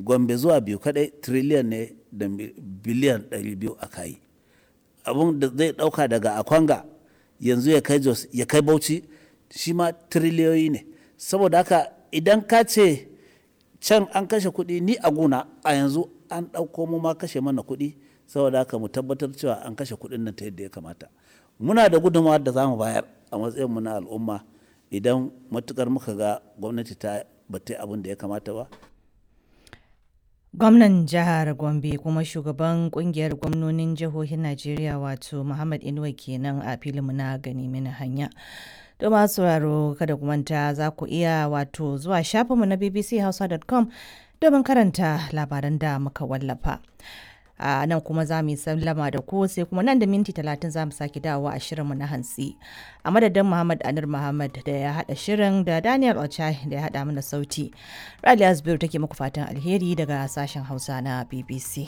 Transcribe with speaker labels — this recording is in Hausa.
Speaker 1: Gombe zuwa biyu kadai triliyan ne da biliyan 200 aka yi. Abun da zai dauka daga Akwanga yanzu ya kai Jos ya kai Bauchi shi ma triliyoyi ne. Saboda haka idan ka ce can an kashe kuɗi, ni a guna a yanzu an ɗauko mu ma kashe mana kuɗi. Saboda haka mu tabbatar cewa an kashe kuɗin nan ta yadda ya kamata. Muna da gudunmawar da za mu bayar a matsayin mu na al'umma idan matukar muka ga gwamnati ta ba ta yi abin da ya kamata ba.
Speaker 2: Gwamnan jihar Gombe kuma shugaban kungiyar gwamnonin jihohin Najeriya wato Muhammad Inuwa kenan a filinmu na gani mini hanya. To masu sauraro, kada ku manta za ku iya wato zuwa shafinmu na bbchausa.com domin karanta labaran da muka wallafa. A nan kuma za mu yi sallama da ku, sai kuma nan da minti 30 za mu sake dawowa a shirinmu na hantsi. A madadin Muhammad Anur Muhammad da ya haɗa shirin da Daniel Ochai da ya haɗa mana sauti, Raliya Zubairu take muku fatan alheri daga sashen Hausa na BBC.